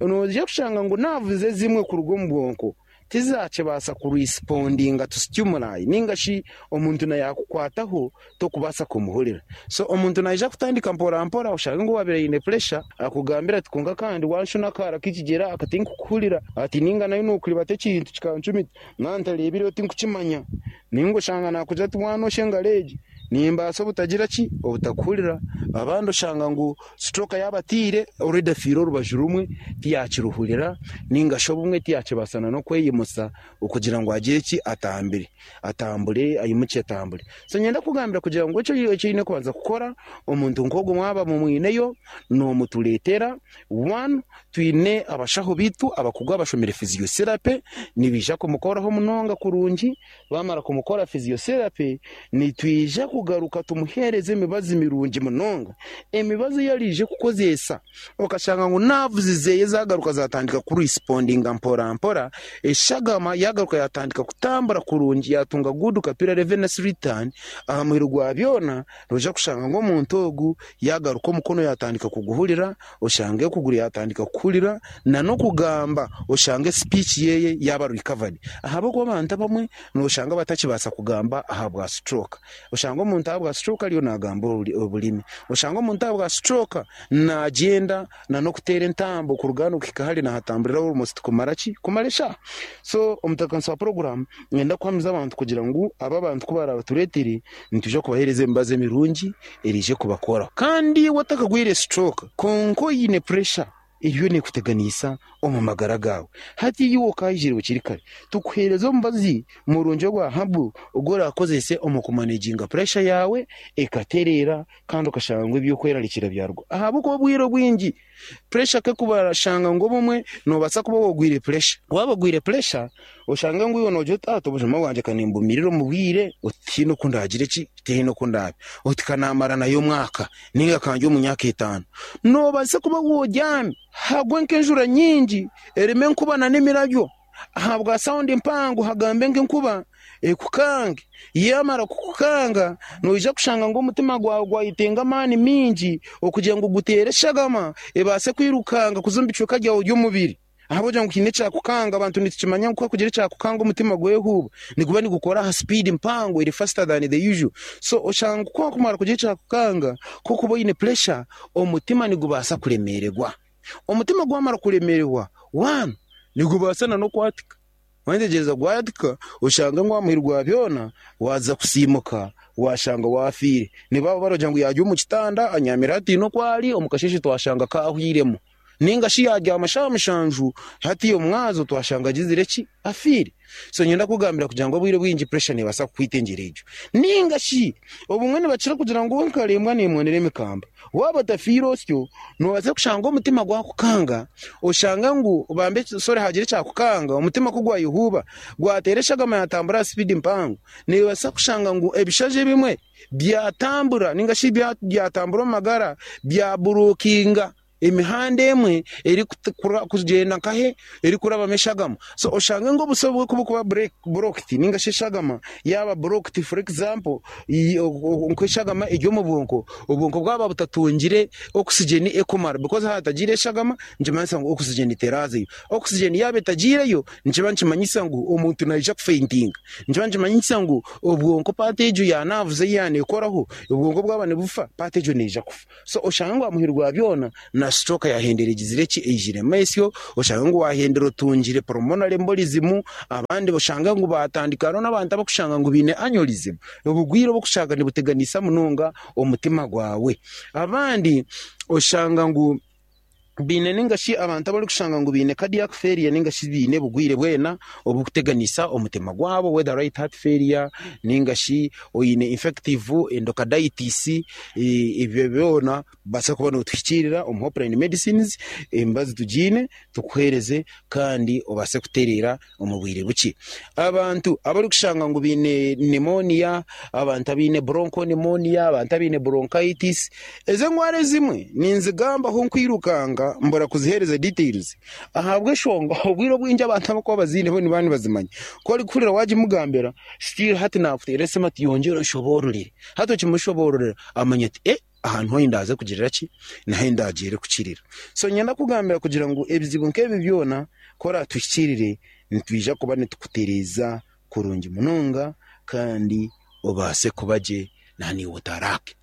noija kushanga ngu nerves ezimwe kuruga omu bwonko tizakibaasa kurespondinga to stimuli ninga shi omuntu na yakukwataho tokubaasa kumuhurira. So omuntu naija kutandika mpora mpora oshange ngu owabaire aine pressure akugambire ati kwonka kandi wanshuna akaara k'ekigyere aka tinkukuhurira ati ninga nayo nokuribata ekintu kikancumita nantareebireho tinkukimanya ninga oshanga nakugira ati wanosha engaro egi nimbaasa obutagira ki obutakuhurira. Abandi oshanga ngu stroke yaabataire already afiire orubaju rumwe tiyakiruhurira ninga shi obumwe tiyakibaasa n'okweyimutsa okugira ngu agire ki atambire, atambure ayimukye atambure. So niinyenda kukugambira kugira ngu eki eki oine kubanza kukora omuntu nk'ogwo mwaba mumwineyo noomutureetera, one twine abashaho baitu abakugu abashomire physiotherapy nibaija kumukoraho munonga kurungi, Baamara kumukora physiotherapy, nitwija kugaruka tumuheereze emibazi mirungi munonga. Emibazi ei araije kukozesa, okashanga ngu nerves zeeye zaagaruka zaatandika kurespondinga mpora mpora, eshagama yaagaruka yaatandika kutambura kurungi, yaatunga good capillary venous return, aha muheru gwa byona noija kushanga ngu omuntu ogu yaagaruka omukono yaatandika kuguhurira, oshange okuguru yaatandika kukuhurira nan'okugamba oshange speech yeeye yaaba recovered. Ahabw'okuba abantu abamwe nooshanga batakibaasa kugamba ahabwa stroke. Oshange omuntu ahabwa stroke ariyo naagamba oburimi. Oshange omuntu ahabwa stroke naagyenda nan'okuteera entambo kuruga hanu kuhika hari naahatamburira almost kumara ki? Kumara eshaaha. So omutebeekanisa wa puroguraamu nayenda kuhamiza abantu kugira ngu aba abantu ku baraabatureetere nitwija kubaheereza emibazi emirungi eraije kubakoraho. Kandi iwe otakagwire stroke kwonka oine pressure eriyo nekuteganisa omu magara gaawe, hati iwe okaayijire bukiri kare tukuheereze omubazi murungi ogwa herbal ogu oraakozese omu kumaneginga pressure yaawe ekatereera kandi okashanga ngu eby'okwerarikira byarugaho. Ahabw'okuba obwire obwingi Puresha ku erikubarashanga ngu obumwe noobaasa kuba waagwire puresha. Waaba ogwire puresha, oshange ngu iwe noogira oti, Ati obujuma bwangye ka nimbumirira omu bwire, oti tihaine oku ndaagire ki, tihaine oku ndaabe. Oti ka naamara nayo omwaka nainga ka ndye omu myaka etaano. Noobaasa kuba wogyami, hagwe nk'enjura nyingi erimu enkuba n'emirabyo. Ahabwa saundi mpango hagambe nk'enkuba ekukange. Yaamara kukukanga, noija kushanga ngu omutima gwawe gwayetenga amaani maingi okugira ngu guteere eshagama ebaase kwirukanga kuza omu bicweka byawe by'omubiri. Ahabw'okugira ngu haine ekyakukanga, abantu nitukimanya ngu ku hakugira ekyakukanga omutima gwehuuba, niguba nigukora aha sipiidi mpango eri faster than the usual. So oshanga ku hakumara kugira ekyakukanga, ku orikuba oine puresha, omutima nigubaasa kuremeererwa. Omutima gwamara kuremererwa, one, nigubaasa na n'okwatika. Wayetegyereza gwatika, oshange ngu aha muheru gwa byona waaza kusiimuka waashanga waafiire. Nibaba baragira ngu yaarya omu kitanda anyaamire hataine oku ari, omu kasheeshe twashanga kaahwiremu. Nainga shi yaabyama shaaha mushanju, hati omwazo twashanga agizire ki? Afiire. So niinyenda kukugambira kugira ngu obwire obwingi pressure neebaasa kukwita engyero egyo. Nainga shi obumwe nibakira kugira ngu nkarembwa neemonera emikamba. Waaba otafiire osyo, noobaasa kushanga omutima gwakukanga, oshanga ngu bambe sorry haagira ekyakukanga, omutima ku gwayehuuba, gwateera eshagama yaatambura aha sipiidi mpango, noobaasa kushanga ngu ebishaju ebimwe byatambura nainga shi byatambura omu magara byaburukinga. Emihanda emwe erikugyenda nkahe erikurabamu eshagama. So oshange ngu obuso bwe kubukuba blocked ninga shi eshagama yaaba blocked, for example, nk'eshagama eri omu bwonko, obwonko bwaba butatungire oxygen ekumara because hatagiire eshagama nikimanyisa ngu oxygen terazayo. Oxygen yaaba etagiireyo nikiba nikimanyisa ngu omuntu naija kufeintinga. Nikiba nikimanyisa ngu obwonko part egyo ya nerves ei yaaba nekoraho, obwonko bwaba nibufa, part egyo neija kufa. So oshange ngu aha muheru gwa byona na stroke yahendera egizire ki? Eijiremu esyo, oshange ngu wahendera otungire pulmonary embolism, abandi oshange ngu batandika hariho n'abantu abakushanga ngu baine aneurysm, obugwire obukushanga nibuteganisa munonga omutima gwawe. Abandi oshanga ngu baine ninga shi abantu abarikushanga ngu baine cardiac failure ninga shi baine obugwire bwena obukuteganisa omutima gwabo whether right heart failure ninga shi oine infective endocarditis, ebyo byona Baasa kuba nootuhikiirira omu Hopeline Medicines, emibazi tugiine tukuheereze kandi obaase kutereera omu bwire bukye. Abantu abarikushanga ngu baine pneumonia, abantu abaine bronchopneumonia, abantu abaine bronchitis, ezo endwara ezimwe ninzigambaho nkwirukanga mbura kuziheereza details ahabw'eshonga obwire obwingi abantu abarikuba baziine bo nibaba nibazimanya. Ku orikuhurira waagimugambira, still hati naakuteera esimu ati yongyera onshoboororere. Hati okimushoboororera amanya ati eh. Aha niho ahi ndaaze kugirira ki? Niho ahi ndaagiire kukirira. So niinyenda kukugambira kugira ngu ebizibu nk'ebi byona ku oraatuhikiirire, nitwija kuba nitukutereeza kurungi munonga kandi obaase kuba gye na naiwe otaraake.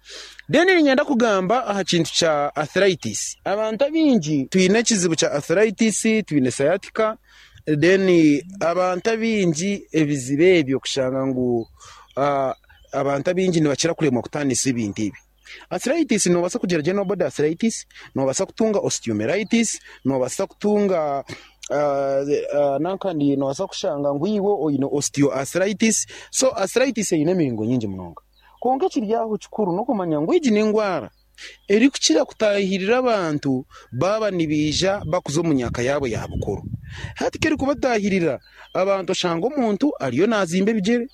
Then niinyenda kugamba aha kintu kya arthritis. Abantu abaingi twine ekizibu kya arthritis, twine sciatica, then abantu abaingi ebizibu ebyo kushanga ngu Abantu abaingi nibakira kuremwa kutaanisa ebintu ebi. Arthritis noobaasa kugira general body arthritis, noobaasa kutunga osteomyelitis, noobaasa kutunga nankandi noobaasa kushanga ngu iwe oine osteoarthritis. So arthritis eine emiringo nyingi munonga. Kwonka ekiri aho kikuru n'okumanya ngu egi n'endwara erikukira kutaahirira abantu baaba nibaija bakuza omu myaka yaabo ya bukuru. Hati ku erikubataahirira, abantu oshanga omuntu ariyo naazimba ebigyere,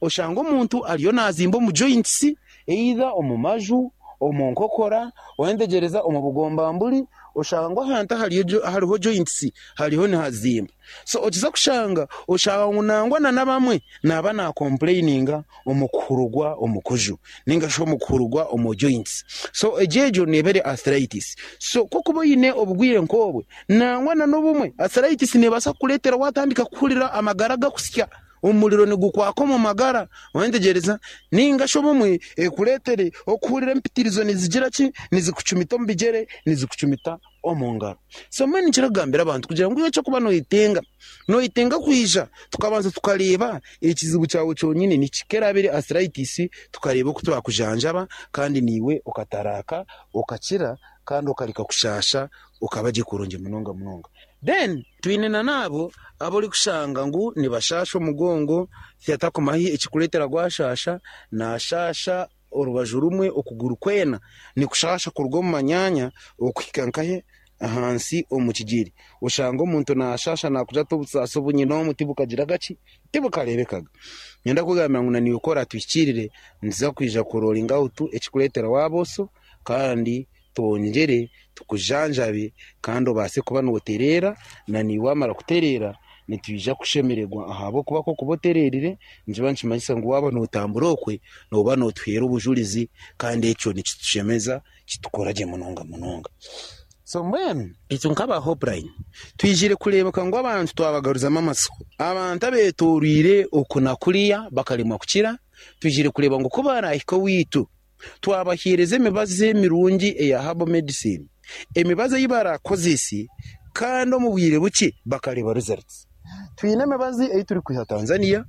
oshanga omuntu ariyo naazimba omu joints, either omu maju, omu nkokora, oyentegereza omu bugombamburi, oshanga ahantu ahariho joints hariho nihazimba. So okiza kushanga, oshanga ngu nangwa na n'abamwe naaba naakompureyininga omu kuhurugwa omu kuju ninga shi omu kuhurugwa omu joints. So egyo egyo neeba eri arthritis. So ku okuba oine obugwire nk'obwe, nangwa na n'obumwe arthritis neebaasa kukureetera waatandika kuhurira amagara gakusya, omuriro nigukwaka omu magara, oyetegereza? Ninga shi obumwe ekureetere okuhurira empitirizo nizigira ki? Nizikucumita omu bigyere, nizikucumita omu ngaro. So mbwenu nikira kugambira abantu kugira ngu iwe eky'okuba noyetenga, noyetenga kwija tukabanza tukareeba ekizibu kyawe kyonyini niki, ku eraabe eri arthritis tukareeba oku twakujanjaba kandi naiwe okataraaka okakira kandi okareka kushaasha okaba gye kurungi munonga munonga. Then twine na n'abo abu orikushanga ngu nibashaasha omugongo, tihatakumahi ekirikureetera gwashaasha, naashaasha Orubaju rumwe okuguru kwena nikushaasha kuruga omu manyaanya okuhika nkahe ahansi omu kigyere. Oshanga omuntu naashaasha naakugira ati obusaasi obu nyine omu tibukagira ki? Tibukareebekaga. Niinyenda kukugambira ngu naiwe ku oraatuhikiirire, nituza kwija kuroringa awutu ekirikureetera waaba oso kandi twongyere tukujanjabe kandi obaase kuba nootereera, na naiwe waamara kutereera nitwija kushemererwa ahabw'okuba ku orikuba otereerire nikiba nikimanyisa ngu waaba nootambura okwe nooba nootuheera obujurizi kandi ekyo nikitushemeza kitukora gye munonga munonga. So mbwenu itwe nk'aba Hopeline twizire kureebeka ngu abantu twabagaruzamu amatsiko. Abantu abeetooroire oku na kuriya bakaremwa kukira, twizire kureeba ngu ku baraahike owaitu Twabaheereza emibazi emirungi eya herbal medicine, emibazi ei barakozese kandi omu bwire bukye bakareeba results. Twine emibazi ei turikwiha Tanzania,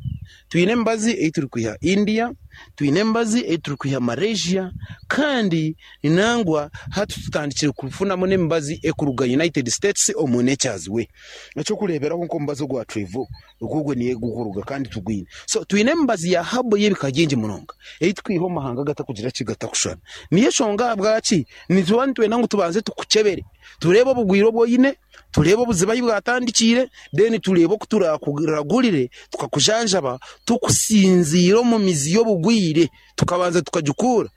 twine emibazi ei turikwiha India, twine emibazi ei turikwiha Malaysia kandi nangwa hati tutandikire kufunamu n'emibazi erikuruga United States omu Nature's Way. Eky'okureeberaho nk'omubazi ogwa Trevo Ogwo ogwo niyo gurikuruga kandi tugwine. So twine emibazi ya herbal y'ebika bingi munonga ei turikwiha omu mahanga agatakugira ki gatakushushana. Niyo enshonga ahabwaki nituba nitwenda ngu tubanze tukukyebere tureebe obugwire obu oine, tureebe obuzibu ahu bwatandikiire, then tureebe oku turakuragurire tukakujanjaba tukusinziire omu mizi y'obugwire. obugwire tukabanza tukagikuura.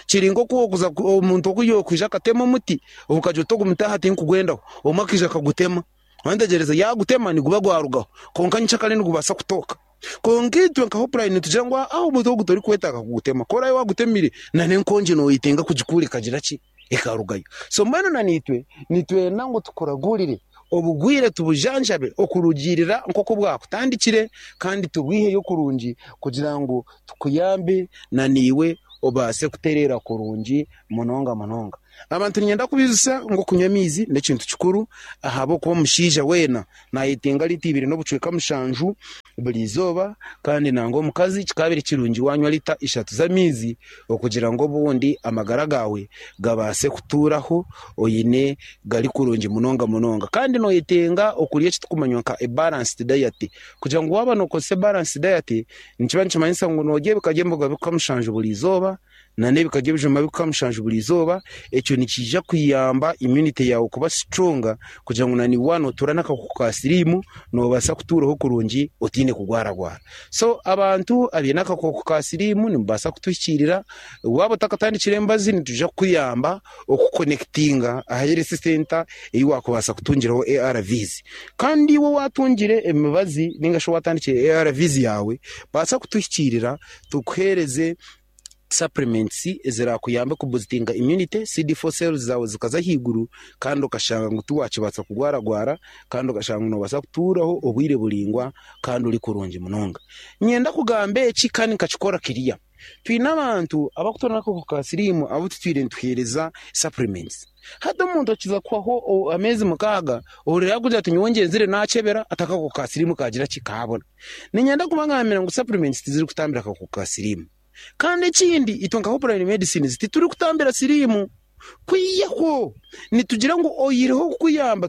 Kiri nk'oku okuza omuntu oku yokwija akatema omuti, okagira oti ogu muti aha tinkugwendaho, omwe akaija akagutema. Wantegyereza, yaagutema niguba gwarugaho, kwonka nyenkyakare nigubaasa kutooka. Kwonka itwe nka Hopeline nitugira ngu aa omuti ogu torikwetaaga kugutema, ku oraabe waagutemire n'enkongi nooyetenga kugikuura ekagira ki? Ekarugayo. So mbwenu na naitwe nitwenda ngu tukuragurire obugwire tubujanjabe okurugiirira nk'oku bwakutandikire kandi tubwiheyo kurungi kugira ngu tukuyambe na naiwe obaase kutereera kurungi munonga munonga. Abantu niinyenda kubaijusya ngu okunywa amaizi n'ekintu kikuru ahabw'okuba omushaija weena naayetenga liita ibiri n'obucweka mushanju buri izooba kandi nangwa omukazi kikaba kirungi waanywa liita ishatu z'amaizi okugira ngu obundi amagara gaawe gabaase kutuuraho oine gari kurungi munonga munonga. Kandi nooyetenga okurya eki turikumanya nka a balanced diet kugira ngu waaba nookozesa a balanced diet nikiba nikimanyisa ngu noorya ebika by'emboga bika mushanju buri izooba n'ebika by'ebijuma bika mushanju buri izooba, ekyo nikiija kuyamba immunity yaawe kuba stronger kugira ngu naiwe waaba nootuura n'akakooko ka siriimu noobaasa kutuuraho kurungi otaine kugwaragwara. So abantu abaine akakooko ka siriimu nimubaasa kutuhikiirira, waaba otakatandikire emibazi nitwija kukuyamba okukonekitinga aha health centre ei waakubaasa kutungiraho ARVs. Kandi iwe owaatungire emibazi ninga shi owaatandikire ARVs yaawe, baasa kutuhikiirira tukuheereze supplements ezirakuyambe kubusitinga immunity, CD4 cells zaawe zikaza ahaiguru kandi okashanga ngu tiwakibaasa kugwaragwara kandi okashanga ngu noobaasa kutuuraho obwire buraingwa kandi ori kurungi munonga. Niinyenda kugamba eki kandi nkakikora kiriya. Twine abantu abarikutuura n'akakooko ka siriimu abu tutwire nituheereza supplements. Hati omuntu akiza kuhwaho ameezi mukaaga ohurira yaakugira ati nyowe ngyenzire naakyebera ati akakooko ka siriimu kaagira ki kaabura. Niinyenda kubagambira ngu supplements tizirikutambira akakooko ka siriimu. Kandi ekindi itwe nka Hopeline Medicines titurikutambira siriimu. Kwihaho nitugira ngu oihireho kukuyamba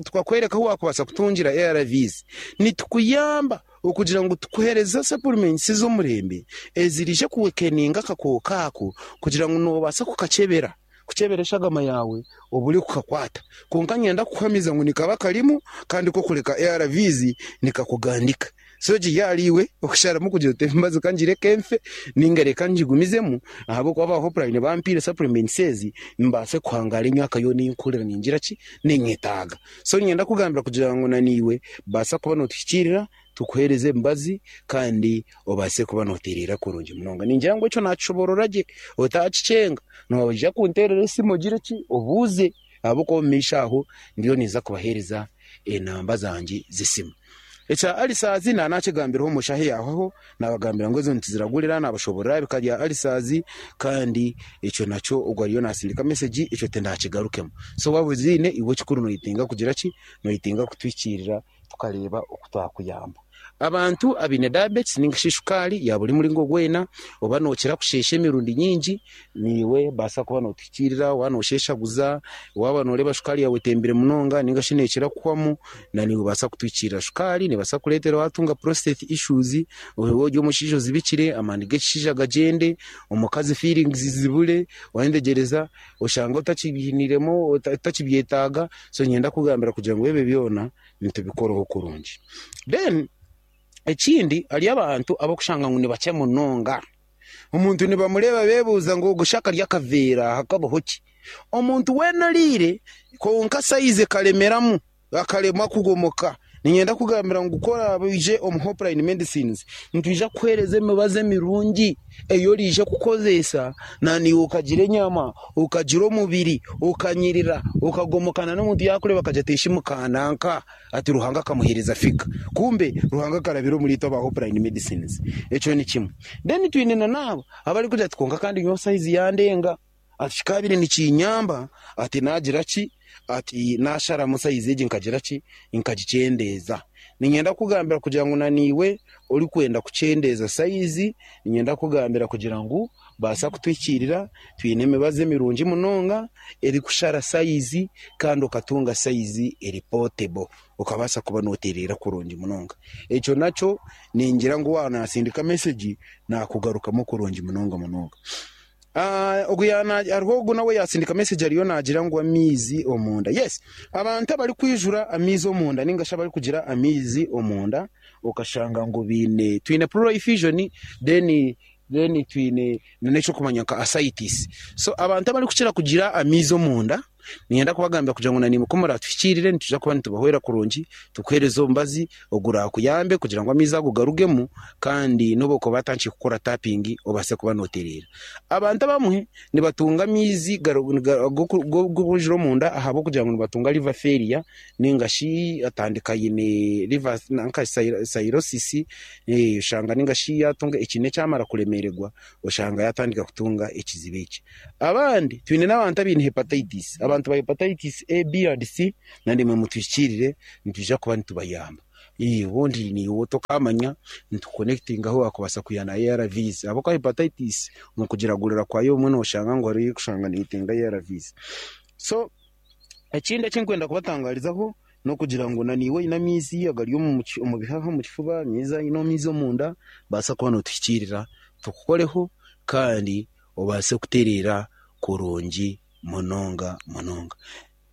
tukakworeka ahu waakubaasa kutungira ARVs, nitukuyamba okugira ngu tukuheereze supplements ez'omurembe eziraije kuwekeninga akakooko ako kugira ngu noobaasa kukakyebera. Kukyebera eshagama yaawe obure kukakwata. Kwonka niinyenda kukuhamiza ngu nikaba karimu kandi ku okureka ARVs nikakugandika. So kiri ahariiwe okusharamu kugira oti emibazi ka ngireke nfe ninga reka ngigumizemu ahabw'okuba aba Hopeline bampaire supplements ezi mbaase kuhangaara emyaka yoona ei nkuhurira ningira ki, ninyetaaga. So niinyenda kukugambira kugira ngu naiwe baasa kuba nootuhikiirira tukuheereze emibazi kandi obaase kuba nootereera kurungi munonga. Ningira ngu ekyo naakishoboorora gye, otaakikyenga. Noija kunteerera esimu ogire ki, obuuze ahabw'okuba omu maisho aho ndiyo ninza kubaheereza enamba zangye z'esimu. Ekya Alisaazi naaba naakigambireho omu shaaha eyaahwaho, naabagambira ngu ezo nituziragurira, naabashoboorora aha bika bya Alisaazi kandi ekyo nakyo ogwo ariyo naatsindika mesegi ekyo tindaakigarukemu. So waaba oziine iwe ekikuru noyetenga kugira ki, noyetenga kutuhikiirira tukareeba oku twakuyamba. Abantu abaine diabetes ninga shi shukaari ya buri muringo gwena, oba nookira kusheesha emirundi nyingi, naiwe baasa kuba nootuhikiirira waaba noosheeshaguza, waaba nooreeba shukaari yaawe etembire munonga ninga shi neekira kuhwamu, naiwe baasa kutuhikiirira. Shukaari neebaasa kukureetera waatunga prostate issues, waaba ori omushaija ozibikire, amaani g'ekishaija gagyende, omukazi feelings zibure, waayetegyereza oshange otakibiiniremu, otakibyetaaga, so niinyenda kukugambira kugira ngu ebyo byona nitubikoraho kurungi. Then ekindi hariyo abantu abarikushanga ngu nibakye munonga. Omuntu nibamureeba beebuuza ngu ogu shi akarya akaveera hakabaho ki? Omuntu weena oriire kwonka sayizi ekaremeramu, akaremwa kugomoka, niinyenda kukugambira ngu ku oraabe oije omu Hopeline Medicines, nitwija kukuheereza emibazi emirungi ei oraije kukozesa naiwe okagira enyama, okagira omubiri, okanyirira, okagomoka n'omuntu yaakureeba akagira ati eshi mukananka ati Ruhanga akamuheereza figa. Kumbe Ruhanga akarabira omuri itwe aba Hopeline Medicines. Ekyo ni kimwe. Then twine na n'abo abarikugira ati kwonka kandi nyowe sayizi yandenga. Ati kikaabaire nikiinyamba ati naagira ki, ati naasharamu sayizi egi nkagira ki, nkagikyendeeza. Niinyenda kukugambira kugira ngu naiwe orikwenda kukyendeeza sayizi, niinyenda kukugambira kugira ngu baasa kutuhikiirira, twine emibazi emirungi munonga erikushara sayizi kandi okatunga sayizi eri potebo, okabaasa kuba nootereera kurungi munonga. Ekyo nakyo ningira ngu waaba naatsindika mesegi naakugarukamu kurungi munonga munonga. Ogu hariho ogu nawe yatsindika message ariyo nagira ngu amaizi omunda. Yes, abantu abarikwijura amaizi omunda ninga shi abarikugira amaizi omunda okashanga ngu baine twine pleural effusion then Then twine n'ekyokumanya nka ascites. So abantu abarikukira kugira amaizi omunda, niinyenda kubagambira kugira ngu naimwe ku muratuhikiirire nitwija kuba nitubahwera kurungi, tukuheereze omubazi ogurakuyambe kugira ngu amaizi ago garugemu kandi n'obu okuba atandikire kukora tapping obaase kuba nootereera. Abantu abamwe nibatunga amaizi g'obujura omunda ahabw'okugira ngu nibatunga liver failure ninga shi atandika aine liver nka cirrhosis oshanga ninga shi yatunga ekiine kyamara kuremererwa oshanga yatandika kutunga ekizibu eki. Abandi twine n'abantu abaine hepatitis, abantu ba hepatitis A, B and C naimwe mutuhikiirire nitwija kuba nitubayamba. Obundi naiwe tokamanya nitukukonekitinga ahu wakubaasa kwiha na ARVs ahabw'okuba hepatitis omu kugiragurira kwayo obumwe noshanga ngu hariho erikushanga neyetenga ARVs. So Ekindi eki ndikwenda kubatangarizaho n'okugira ngu naiwe oine amaizi agari omu bihaha, omu kifuba, oine amaizi omunda, baasa kuba nootuhikiirira tukukoreho kandi obaase kutereera kurungi munonga munonga.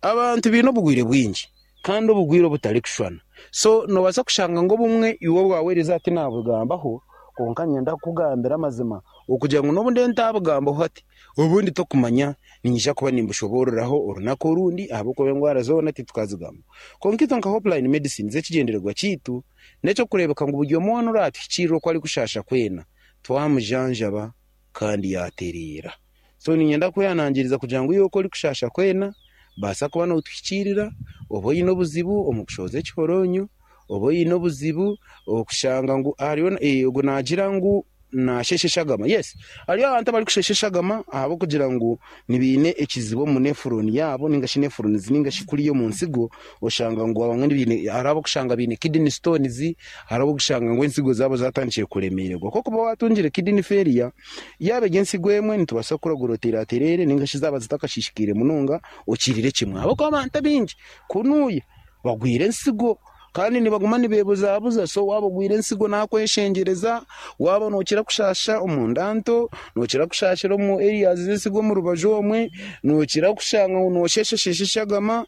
Abantu baine obugwire bwingi kandi obugwire obutarikushushana. So noobaasa kushanga ngu obumwe iwe obwaweereza hati naabugambaho kwonka niinyenda kukugambira amazima okugira ngu n'obu ndiyo ntaabugambaho hati, Obundi tokumanya, niinyija kuba nimbushoboororaho orunaku orundi ahabw'okuba endwara zoona titukazigambaho. Kwonka itwe nka Hopeline Medicines ekigyendererwa kyaitu n'eky'okureebeka ngu buri omwe weena oraatuhikiirira oku arikushaasha kwena twamujanjaba kandi yaatereera. So niinyenda kwehanangiriza kugira ngu iwe oku orikushaasha kwena, baasa kuba nootuhikiirira oba oine obuzibu omu kushohoza ekihoronyo, oba oine obuzibu okushanga ngu hariho ogwo naagira ngu Naasheesha eshagama? Yes. Hariyo abantu abarikushesha eshagama ahabw'okugira ngu nibaine ekizibu omu nefuroni yaabo ninga shi nefuronizi ninga shi kuriya omu nsigo oshanga ngu abamwe baine hariho ab'okushanga baine kidney stones, hariho ab'okushanga ngu ensigo zaabo zatandikire kuremeererwa. Ku orikuba waatungire kidney failure, yaaba eri ensigo emwe nitubaasa kukuragura oteere atereere ninga shi zaaba zitakashiishikaire munonga okirire kimwe ahabw'okuba abantu abaingi kunuuya bagwire ensigo. Kandi nibaguma nibeebuzabuza. So waaba ogwire ensigo naakweshengyereza, waaba nookira kushaasha omu nda nto, nookira kushaashira omu areas z'ensigo omu rubaju omwe, nookira kushanga ngu noosheeshasheesha eshagama,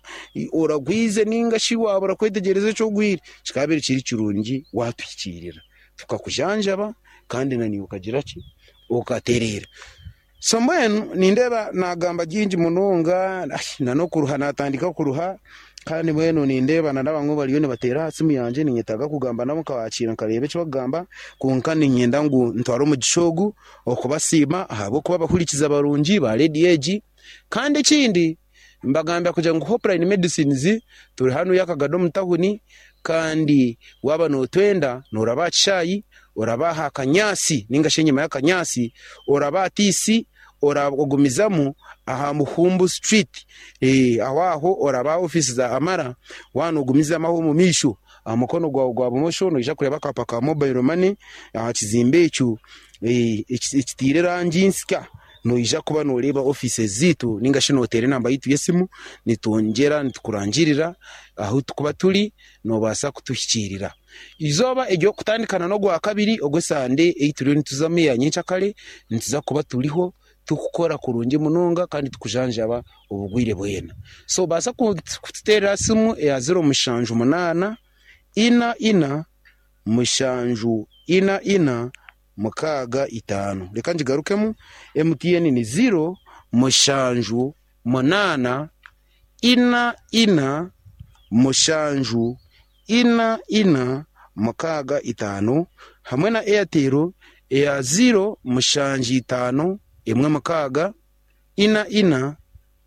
oragwize nainga shi waabura kwetegyereza eki ogwire, kikaabaire kiri kirungi waatuhikiirira tukakujanjaba kandi naiwe okagira ki? Okatereera. So mbwenu nindeeba naagamba bingi munonga n'okuruha naatandika kuruha kandi mbwenu nindeeba n'abamwe bariyo nibateera aha simu yangye ninyetaaga kugamba nabo nkabakiira nkareeba eki barikugamba kwonka niinyenda ngu ntware omugisha ogu okubasiima ahabw'okuba abahurikiza barungi ba rediyo egi kandi ekindi Mbagambira kugira ngu Hopeline Medicines turi hanu Yakagado omu tawuni kandi waaba nootwenda nooraba aha kishaayi, oraba aha kanyaatsi nainga shi enyima y'akanyaatsi, oraba aha TC, ogumizamu aha Muhumbu Street, aho aho oraba aha ofiisi za Amara, waaba noogumizamu aho omu maisho aha mukono gwawe gwa bumosho noija kureeba akaapa ka mobile money aha kizimbe ekyo ekitaire erangi nsya. Noija kuba nooreeba ofiisi zaitu nainga shi nooteera enamba yaitu y'esimu, nitwongyera nitukurangirira ahu turikuba turi, noobaasa kutuhikiirira. Eizooba ery'okutandikana n'Ogwakabiri ogw'esande ei turiyo nituzamu eya nyenkyakare, nituza kuba turiho turikukora kurungi munonga kandi turikujanjaba obugwire bwena. So baasa kututeerera aha simu eya ziro mushanju munaana, ina ina, mushanju ina ina, mukaaga itaano. Reka ngigarukemu, MTN ni ziro, mushanju, munaana, ina, ina, mushanju, ina, ina, mukaaga itaano, hamwe na Airtel eya ziro, mushanju itaano, emwe mukaaga, ina, ina,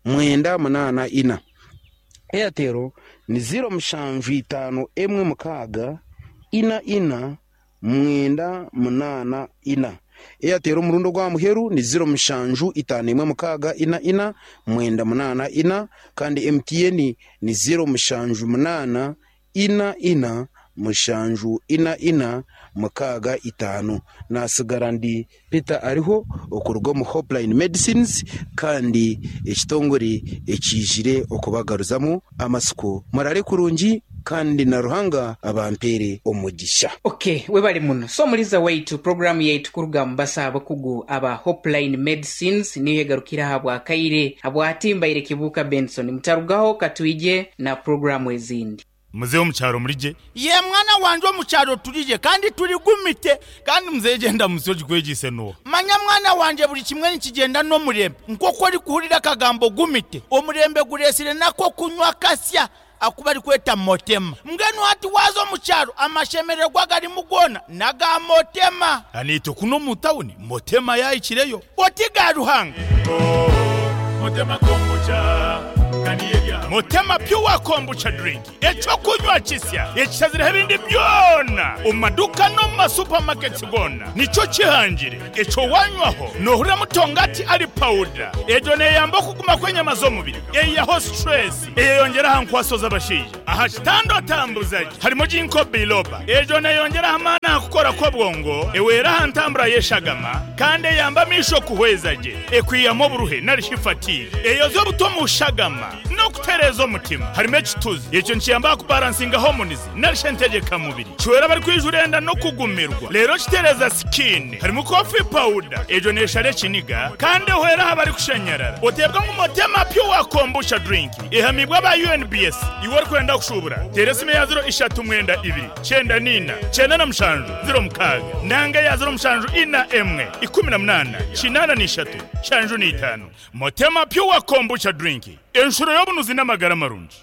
mwenda munaana ina. Airtel ni ziro mushanju itaano emwe mukaaga, ina, ina, mwenda munaana ina. Airtel omurundi ogw'aha muheru ni ziro mushanju itaano emwe mukaaga ina ina mwenda munaana ina kandi MTN ni ziro mushanju munaana ina ina mushanju ina ina mukaaga itaano. Naatsigara ndi Peter Ariho okuruga omu Hopeline Medicines kandi ekitongore ekiijire okubagaruzamu amatsiko. Murare kurungi kandi na Ruhanga abampeere omugisha. Ok webale muno. So omuliza waitu program yaitu kuruga mubasa abakugu aba Hopeline Medicines niyo egarukire aha bwakaire. Habwati mbaire Kibuuka Benson. Mutarugaho katwije na program ezindi. Muzei omu kyaro muri gye? Yee mwana wangye omu kyaro turi gye kandi turi gumite. Kandi muzei egyo endamutsyo ogikwegyeise n'oha? Manya mwana wangye buri kimwe nikigyenda n'omurembe. Nk'oku orikuhurira akagambo gumite, omurembe gureetsire n'ak'okunywa kasya aku barikweta motema. Mbwenu hati waaza omu kyaro amashemererwa agarimu goona n'aga motema. Naitwe kunu omu tawuni motema yaahikireyo. Oti ga Ruhanga. Motema Pure Kombucha Drink, eky'okunywa kisya ekishazireho ebindi byona omu maduuka n'omu ma supermarkets goona nikyo kihangire. Ekyo wanywaho nohurira mutongati ari pawuda. Egyo neyamba okuguma kw'enyama z'omubiri, eyihaho stress, eyeyongyera aha nkwaso z'abashaija. Aha kitanda otambuza gye harimu Ginkgo biloba. Egyo neyongyera aha maani aha kukora kw'obwongo, ehwera aha ntambura y'eshagama kandi eyamba amaisho kuhweza gye. Ekwihamu oburuhe nari shi fatigue. Eyoza obuta omu shagama n'okutereeza omutima. Harimu ekituzi. Ekyo nikiyamba aha kubaransinga hormones nari shi entegyeka mubiri. Kihwera abarikwija enda n'okugumirwa. Reero kitereeza skin. Harimu coffee powder. Egyo neeshara ekiniga kandi ehwera aha barikushanyarara. Oteebwa ngu Motema Pure Kombucha Drink ehamiibwe aba UNBS. Iwe orikwenda kushuubura, teera esimu eya ziro ishatu mwenda ibiri, kyenda n'ina, kyenda na mushanju, ziro mukaaga nanga eya ziro mushanju ina emwe, ikumi na munaana, kinaana n'ishatu, nshanju n'itaano. Motema Pure Kombucha Drink, enshuro y'obunuzi n'amagara marungi.